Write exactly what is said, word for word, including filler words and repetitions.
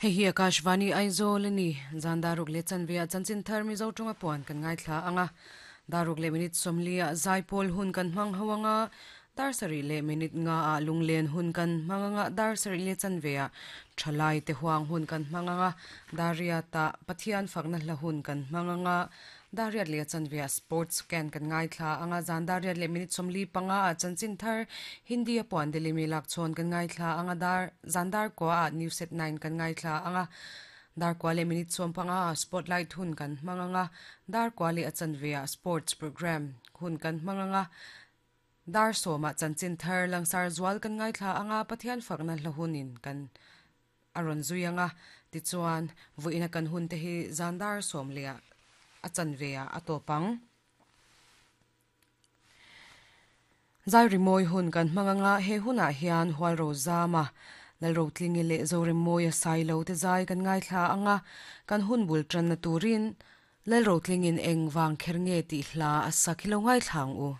Hei hi Akashvani Aizawl ani zan daruk le chanve a chanchin thar Mizo tonga puan kan ngai thla anga daruk le minute somli a zaipawl hun kan hmang hoanga dar sari le minute nga a lunglen hun kan hmanganga dar sari le chanve a thalai te huang hun kan hmanganga daria ta Pathian fakna hla hun kan hmanganga dariat le chanve a sports can kan ngai thla anga zan dariat le minute somli panga a chanchin thar Hindi a puan delimi lak chon kan ngai thla anga dar zandar ko a news at nine kan ngai thla anga dar kwale minute som panga a spotlight hun kan hmanganga dar kwale a chanve a sports program hun kan hmanganga dar soma chanchin thar langsar zual kan ngai thla anga Pathian fakna hla hunin kan aron zuianga tichuan vuina kan hun te hi zandar som le a chanve a atopang zai rimoi hun kan hmanganga he huna hian hual ro zama lalro tlingi le zorimoi a sai lo te zai kan ngai thla anga kan hun bul tran na turin lalro tlingin eng wang kher nge ti hla a sakhilo ngai thlang u.